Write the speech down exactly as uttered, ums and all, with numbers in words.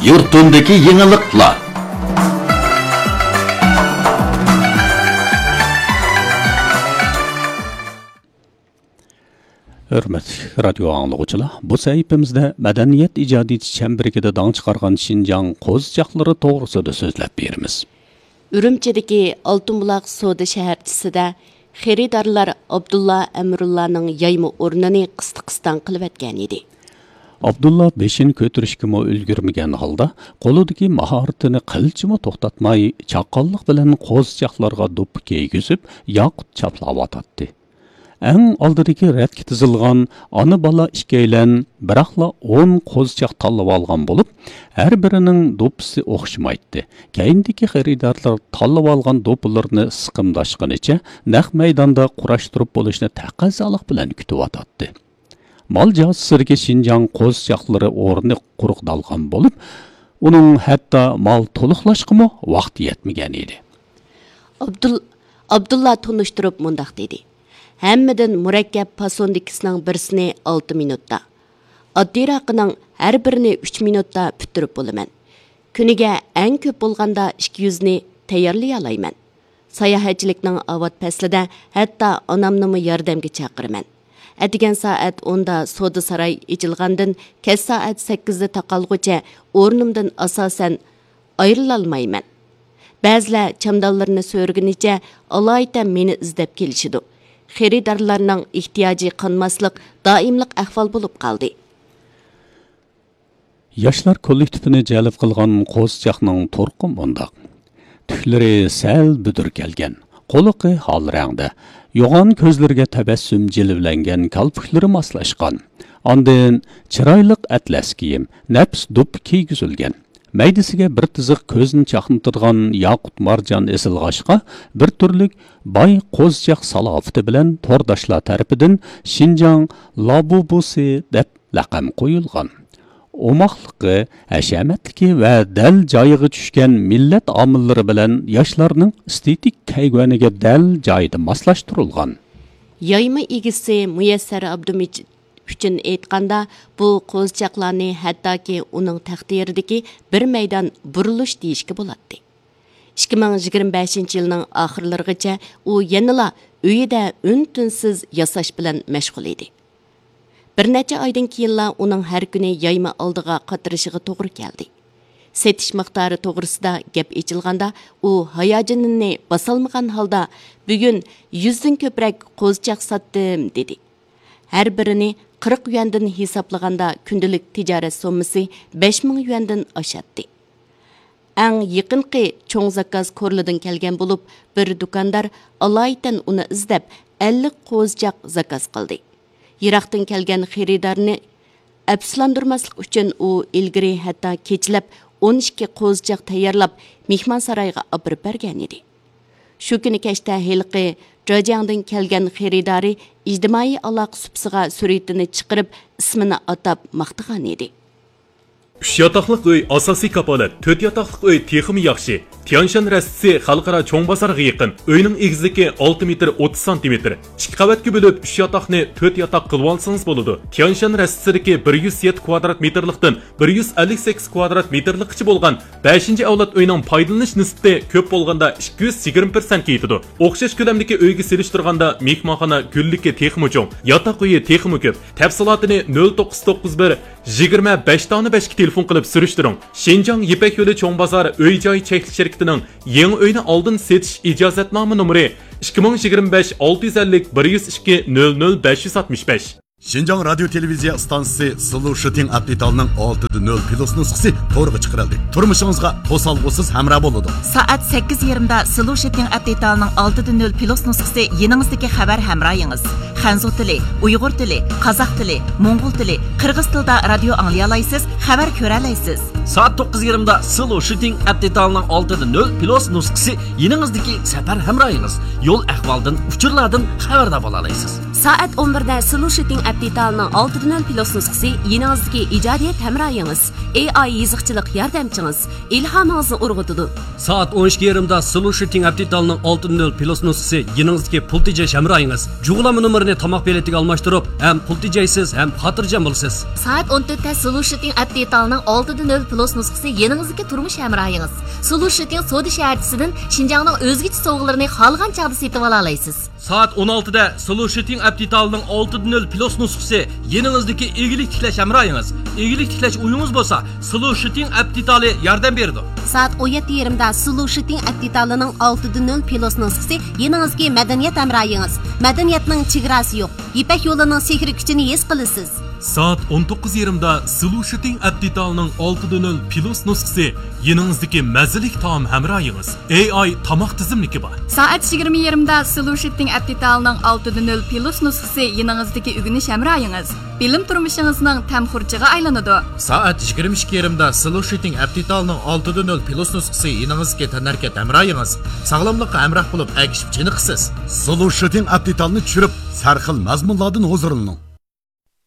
يۇرتۇمدىكى يېڭىلىقلار. ھۆرمەتلىك رادىيو ئاڭلىغۇچىلار، بۇ سەھىپىمىزدە مەدەنىيەت ئىجادىيىتى چەمبىرىكىدە داڭ چىقارغان شىنجاڭ قوزىچاقلىرى توغرىسىدا سۆزلەپ بېرىمىز. ئۈرۈمچىدىكى ئالتۇن بۇلاق سودا شەھەرچىسىدە خېرىدارلار ئابدۇللا ئەمرۇللانىڭ يايما ئورنىنى قىستاقىستاڭ قىلىۋەتكەنىدى. ئابدۇللا بېشىنى كۆتۈرۈشكىمۇ ئۈلگۈرمىگەن ھالدا، قولىدىكى ماھارىتىنى قىلچىمۇ توختاتماي، چاققانلىق بىلەن قوزىچاقلارغا دوپپا كىيگۈزۈپ، ياقۇت چاپلاۋاتاتتى. ئەڭ ئالدىدىكى رەتكە تىزىلغان ئانا-بالا ئىككىيلەن بىراقلا ئون قوزىچاق تاللىۋالغان بولۇپ، ھەر بىرىنىڭ دوپپىسى ئوخشىمايتتى. كەينىدىكى خېرىدارلار تاللىۋالغان دوپپىلىرىنى سىقىمداشقىنىچە نەق مەيداندا قۇراشتۇرۇپ بولۇشنى تەقەززالىق بىلەن كۈتۈۋاتاتتى. مال جازىسىدىكى شىنجاڭ قوزىچاقلىرى ئورنى قۇرۇقدالغان بولۇپ، ئۇنىڭ ھەتتا مال تولۇقلاشقىمۇ ۋاقتى يەتمىگەن ئىدى. ئابدۇل-، ئابدۇللا تونۇشتۇرۇپ مۇنداق دېدى: «ھەممىدىن مۇرەككەپ پاسوندىكىسىنىڭ بىرسىنى ئالتە مىنۇتتا، ئاددىيراقىنىڭ ھەر بىرىنى ئۈچ مىنۇتتا پۈتتۈرۈپ بولىمەن. كۈنىگە ئەڭ كۆپ بولغاندا ئىككى يۈزنى تەييارلىيالايمەن. ساياھەتچىلىكنىڭ ئاۋات پەسلىدە ھەتتا ئانامنىمۇ ياردەمگە چاقىرىمەن. ئەتىگەن سائەت ئوندا سودا ساراي ئېچىلغاندىن كەچ سائەت سەككىزدە تاقالغۇچە ئورنۇمدىن ئاساسەن ئايرىلالمايمەن. بەزىلەر چامدانلىرىنى سۆرىگىنىچە ئالايىتەن مېنى ئىزدەپ كېلىشىدۇ. خېرىدارلارنىڭ ئېھتىياجى قانماسلىق دائىملىق ئەھۋال بولۇپ قالدى.» ياشلار كوللېكتىپىنى جەلپ قىلغان قوزىچاقنىڭ تۇرقى مۇنداق. تۈكلىرى سەل بۈدۈر كەلگەن، قۇلىقى ھال رەڭدە، يوغان كۆزلىرىگە تەبەسسۇم جىلۋىلەنگەن كالپۇكلىرى ماسلاشقان. ئاندىن چىرايلىق ئەتلەس كىيىم، نەپىس دوپپا كىيگۈزۈلگەن. مەيدىسىگە بىر تىزىق كۆزنى چاقنىتىدىغان ياقۇت مارجان ئېسىلغاچقا، بىر تۈرلۈك باي قوزىچاق سالاپىتى بىلەن تورداشلار تەرىپىدىن شىنجاڭ لابۇبۇسى دەپ لەقەم قويۇلغان. ئوماقلىقى، ھەشەمەتلىكى ۋە دەل جايىغا چۈشكەن مىللەت ئامىللىرى بىلەن ياشلارنىڭ ئېستېتىك كەيۋەنىگە دەل جايىدا ماسلاشتۇرۇلغان. يايما ئىگىسى مۇيەسسەر ئابدۇمىجىت ئۈچۈن ئېيتقاندا، بۇ قوزىچاقلارنى ھەتتاكى ئۇنىڭ تەقدىرىدىكى بىر مەيدان بۇرۇلۇش دېيىشكە بولاتتى. ئىككى مىڭ يىگىرمە بەشىنچى يىلنىڭ ئاخىرلىرىغىچە ئۇ يەنىلا ئۆيىدە ئۈن-تىنسىز ياساش بىلەن مەشغۇل ئىدى. بىر نەچچە ئايدىن كېيىنلا ئۇنىڭ ھەر كۈنى يايما ئالدىغا قاترىشىغا توغرا كەلدى. سېتىش مىقدارى توغرىسىدا گەپ ئېچىلغاندا، ئۇ ھاياجىنىنى باسالمىغان ھالدا، «بۈگۈن يۈزدىن كۆپرەك قوزىچاق ساتتىم» دېدى. ھەر بىرىنى قىرىق يۈەندىن ھېسابلىغاندا، كۈندىلىك تىجارەت سوممىسى بەش مىڭ يۈەندىن ئاشاتتى. ئەڭ يېقىنقى چوڭ زاكاز كورلىدىن كەلگەن بولۇپ، بىر دۇكاندار ئالايىتەن ئۇنى ئىزدەپ، ئەللىك قوزىچاق زاكاز قىلدى. يىراقتىن كەلگەن خېرىدارنى ئەپسۇسلاندۇرماسلىق ئۈچۈن، ئۇ ئىلگىرى ھەتتا كېچىلەپ ئون ئىككى قوزىچاق تەييارلاپ، مېھمانسارايغا ئاپىرىپ بەرگەنىدى. شۇ كۈنى كەچتە ھېلىقى جېجياڭدىن كەلگەن خېرىدارى ئىجتىمائىي ئالاقە سۇپىسىغا سۈرىتىنى چىقىرىپ، ئىسمىنى ئاتاپ ماختىغانىدى. ئۈچ ياتاقلىق ئۆي ئاساسىي كاپالەت، تۆت ياتاقلىق ئۆي تېخىمۇ ياخشى. تيانشان رەستىسى خەلقئارا چوڭ بازارغا يېقىن. ئۆينىڭ ئېگىزلىكى ئالتە مېتىر ئوتتۇز سانتىمېتىر. ئىككى قەۋەتكە بۆلۈپ، ئۈچ ياتاقنى تۆت ياتاق قىلىۋالسىڭىز بولىدۇ. تيانشان رەستىسىدىكى بىر يۈز يەتتە كۋادرات مېتىرلىقتىن بىر يۈز ئەللىك سەككىز كۋادرات مېتىرلىققىچە بولغان بەشىنچى ئەۋلاد ئۆينىڭ پايدىلىنىش نىسبىتى كۆپ بولغاندا ئىككى يۈز يىگىرمە پىرسەنتكە يېتىدۇ. ئوخشاش كۆلەمدىكى ئۆيگە سېلىشتۇرغاندا مېھمانخانا گۈللۈكى تېخىمۇ چوڭ، ياتاق ئۆيى تېخىمۇ كۆپ. تەپسىلاتىنى نۆل توققۇز توققۇز بىر، يىگىرمە بەش دانە بەشكە تېلېفون قىلىپ سۈرۈشتۈرۈڭ. شىنجاڭ يىپەك يولى چوڭ بازار ئۆي-جاي چەكلىك شىركىتىنىڭ يېڭى ئۆينى ئالدىن سېتىش ئىجازەتنامە نومۇرى ئىككى مىڭ يىگىرمە بەش ئالتە يۈز ئەللىك بىر يۈز ئىككى نۆل نۆل بەش يۈز ئاتمىش بەش. شىنجاڭ رادىيو تېلېۋىزىيە ئىستانسىسى سلو شىتىڭ ئەپ دېتالىنىڭ ئالتىدە نۆل پلۇس نۇسخىسى تورغا چىقىرىلدى. تۇرمۇشىڭىزغا توسالغۇسىز ھەمراھ بولىدۇ. سائەت سەككىز يېرىمدا سلو شىتىڭ ئەپ دېتالىنىڭ ئالتىدە نۆل پلۇس نۇسخىسى يېنىڭىزدىكى خەۋەر ھەمراھىڭىز. خەنزۇ تىلى، ئۇيغۇر تىلى، قازاق تىلى، موڭغۇل تىلى، قىرغىز تىلىدا رادىيو ئاڭلىيالايسىز، خەۋەر كۆرەلەيسىز. سائەت توققۇز يېرىمدا سلو شىتىڭ ئەپ دېتالىنىڭ ئالتىدە نۆل پلۇس نۇسخىسى يېنىڭىزدىكى سەپەر ھەمراھىڭىز. يول ئەھۋالدىن، ئۇچۇرلاردىن خەۋەردار بولالايسىز. سائەت ئون بىردە سلۇشىتىڭ ئەپ دېتالىنىڭ ئالتىدە نۆل پلۇس نۇسخىسى يېنىڭىزدىكى ئىجادىيەت ھەمراھىڭىز، ئېي ئاي يېزىقچىلىق ياردەمچىڭىز، ئىلھامىڭىزنى ئۇرغۇتىدۇ. سائەت ئون ئىككى يېرىمدا سلۇشىتىڭ ئەپ دېتالىنىڭ ئالتىدە نۆل پلۇس نۇسخىسى يېنىڭىزدىكى پۇل تېجەش ھەمراھىڭىز، جۇغلانما نومۇرىنى تاماق بېلىتىگە ئالماشتۇرۇپ، ھەم پۇل تېجەيسىز، ھەم خاتىرجەم بولىسىز. سائەت ئون تۆتتە سلۇشىتىڭ ئەپ دېتالىنىڭ ئالتىدە نۆل پلۇس نۇسخىسى يېنىڭىزدىكى تۇرمۇش ھەمراھىڭىز. سلۇشىتىڭ سودا شەھەرچىسىدىن شىنجاڭنىڭ ئۆزگىچە سوۋغىلىرىنى خالىغان چاغدا سېتىۋالالايسىز. سائەت ئون ئالتىدە سلۇشىتىڭ ئەپ دېتالىنىڭ ئالتىدە نۆل پلۇس نۇسخىسى يېنىڭىزدىكى ئىگىلىك تىكلەش ھەمراھىڭىز. ئىگىلىك تىكلەش ئويىڭىز بولسا، سلۇشىتىڭ ئەپ دېتالى ياردەم بېرىدۇ. سائەت ئون يەتتە يېرىمدا سلۇشىتىڭ ئەپ دېتالىنىڭ ئالتىدە نۆل پلۇس نۇسخىسى يېنىڭىزدىكى مەدەنىيەت ھەمراھىڭىز. مەدەنىيەتنىڭ چېگراسى يوق. يىپەك يولىنىڭ سېھرىي كۈچىنى ھېس قىلىسىز. سائەت ئون توققۇز يېرىمدا سلۇشىتىڭ ئەپ دېتالىنىڭ ئالتىدە نۆل پلۇس نۇسخىسى يېنىڭىزدىكى مەززىلىك تائام ھەمراھىڭىز. ئېي ئاي تاماق تىزىملىكى بار. سائەت يىگىرمە يېرىمدا سلۇشىتىڭ ئەپ دېتالىنىڭ ئالتىدە نۆل پلۇس نۇسخىسى يېنىڭىزدىكى ئۆگىنىش ھەمراھىڭىز. بىلىم تۇرمۇشىڭىزنىڭ تەم خۇرجىغا ئايلىنىدۇ. سائەت يىگىرمە ئىككى يېرىمدا سلۇشىتىڭ ئەپ دېتالىنىڭ ئالتىدە نۆل پلۇس نۇسخىسى يېنىڭىزدىكى تەنھەرىكەت ھەمراھىڭىز. ساغلاملىققا ھەمراھ بولۇپ، ئەگىشىپ چېنىقىسىز. سلۇشىتىڭ ئەپ دېتالىنى چۈشۈرۈپ، سەرخىل مەزمۇنلاردىن ھۇزۇرلىنىڭ.